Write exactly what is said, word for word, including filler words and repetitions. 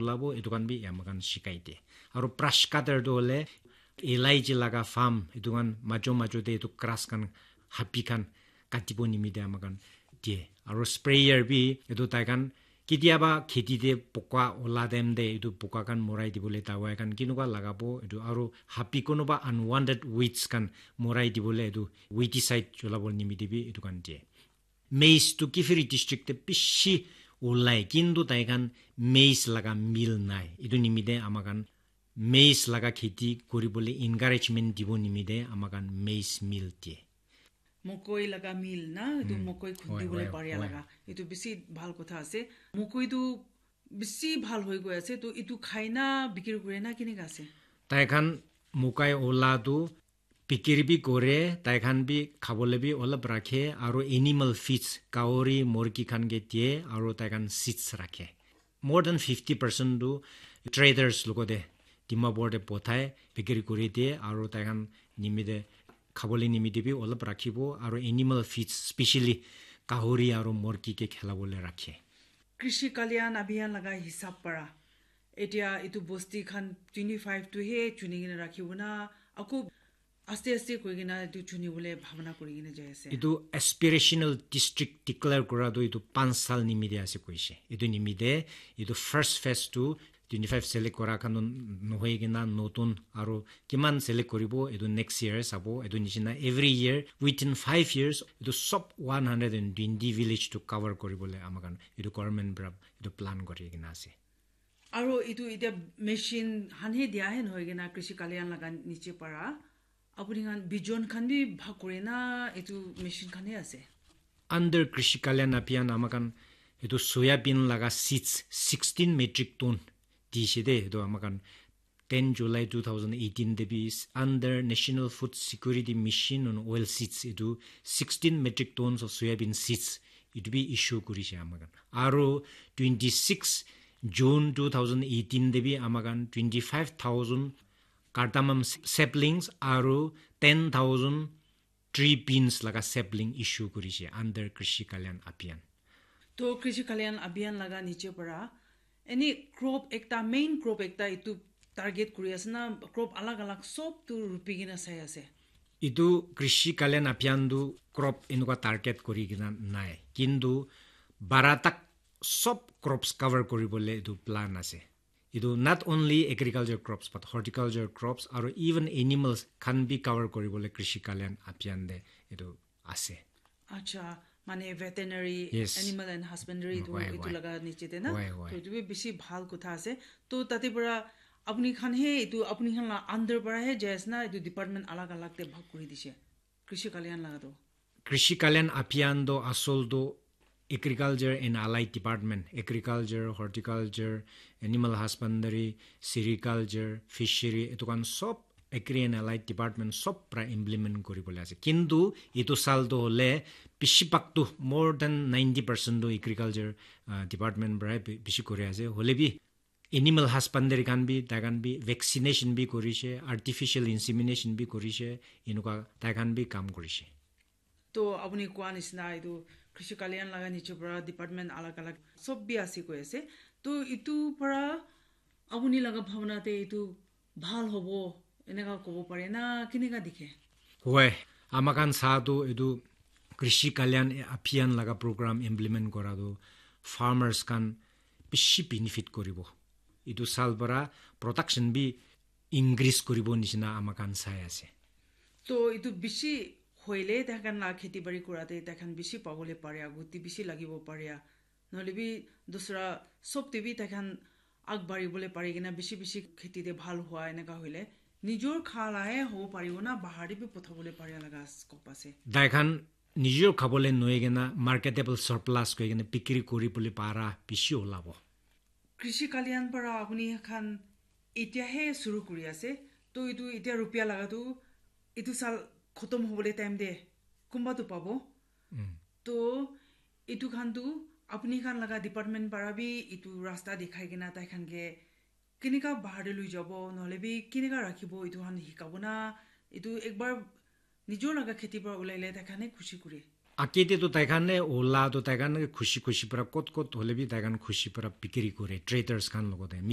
ulabo, etu khan bi amakhan shikai de. Aru brush cutter tu hole elaichi laga farm, etu khan majo majo te etu grass khan, hapi khan katibo nimite amakhan die. Aru sprayer bi etu tai khan ketiaba kheti te poka ola time te etu poka khan morai dibole dawai khan kinuka lagabo etu, aru hapi kunuba unwanted weeds khan morai dibole etu weedicide cholabo nimite bi etu khan die. Maize tu Kiphire district te bishi ulai, kintu tai khan maize laga mill nai. Etu nimite amakhan maize laga kheti kuribole encouragement dibo nimite amakhan maize mill die. Mokoi laga mill na, etu mokoi khundi bole paria laga. Etu bisi bhal kotha ase. Mokoi tu bisi bhal hoi goi ase. To etu khai na bikiri kure na kineka ase? Tai khan mokai ola tu bikiri bi kore, tai khan bi khabole bi olop rakhe, aru animal feeds, gauri, morgi khan ke die, aru tai khan seeds rakhe. More than fifty percent tu traders logote Dimapur te pothai, bikiri kuri die, aru tai khan nimite khabole nimite bi olop rakhibo, aru animal feeds, specially gauri aru morgi ke khelabole rakhe. Krishi Kalyan Abhiyan laga hisab para, etia etu bosti khan twenty five tu he chuni kena rakhibo na, ako aste aste koi kena etu chuni bole bhabana kuri kena jai ase? Etu aspirational district declare kora tu etu panch sal nimite ase koise. Etu nimite etu first phase tu twenty five select kora khan tu nohoi kena notun aru kiman select koribo, etu next year sabo. Etu nishina every year, within five years, etu sob one hundred and twenty village tu cover koribole amakhan etu government para etu plan kori kena ase. Aru etu etia machine khan he dia he nohoi kena Krishi Kalyan laga niche para apuni khan bijon khan bi bhag kore na etu machine khan he ase? Under Krishi Kalyan Abhiyan amakhan etu soyabean laga seeds sixteen metric ton dishe de, etu amakhan ten July two thousand eighteen te bi under National Food Security Mission on Oil Seeds etu sixteen metric tons of soyabean seeds etu bi issue kurishe amakhan. Aru twenty six June two thousand eighteen te bi amakhan twenty five thousand cardamom saplings aru ten thousand tree beans laga sapling issue kurishe under Krishi Kalyan Abhiyan. To Krishi Kalyan Abhiyan laga niche para any crop ekta, main crop ekta etu target kuri ase na, crop alag alag sob tu rupi kena sai ase? Etu Krishi Kalyan Abhiyan tu crop enuka target kuri kena nai, kintu bara tak sob crops cover kuribole etu plan ase. Etu not only agriculture crops but horticulture crops aru even animals khan bi cover kuribole Krishi Kalyan Abhiyan te etu ase. Acha, mane veterinary, yes, animal and husbandry tu, why, etu why, laga niche te na? Why, why? To etu bi bishi bhal kotha ase. To tate para apuni khan he etu apuni khan la under para he jai ase na, etu department alag alag te bhag kuri dishe Krishi Kalyan laga to? Krishi Kalyan Abhiyan to asol to Agriculture and Allied Department, Agriculture, Horticulture, Animal Husbandry, Sericulture, Fishery, etu khan sob Agri and Allied Department sob para implement kuri bole ase. Kintu etu sal to hole bishi bhag to, more than ninety percent to Agriculture, ah, Department para bi-, bishi kuri ase. Hole bi animal husbandry khan bi, tai khan bi vaccination bi kurishe, artificial insemination bi kurishe, enuka tai khan bi kam kurishe. To apuni koa nisna etu Krishi Kalyan laga niche para department alag alag sob bi ase koi ase. To etu para apuni laga bhabana te etu bhal hobo eneka kobo pare na, keneka dikhe? Hoi, amakhan sa tu etu Krishi Kalyan Abhiyan laga program implement kora tu farmers khan bishi benefit koribo. Etu sal para production bi increase koribo nishina amakhan sai ase. To etu bishi hoile tai khan la kheti bari kora te tai khan bishi pabole pare, aguti bishi lagibo pare, nohole bi dusra sob te bi tai khan agbari bole pari kena bishi bishi kheti te bhal hua eneka hoile nijor kha la he hobo paribo na bahar te bi pothabole pare laga scope ase? Tai khan nijor khabole nohoi kena marketable surplus koi kena bikiri kori bole para bishi olabo. Krishi Kalyan para apuni khan etia he suru kuri ase, to etu etia rupia laga tu etu sal khotom hobole time te kunba tu pabo. Mm. To etu khan tu apuni khan laga department para bi etu rasta dikhai kena tai khan ke keneka bahar te lui jabo, nohole bi keneka rakhibo, etu khan hikabo na, etu ekbar nijor laga kheti para ulai le tai khan he khushi kure. Ake te to tai khan ne ola to tai khan ke khushi khushi para kot kot hole bi tai khan khushi para bikiri kore traders khan logote, mi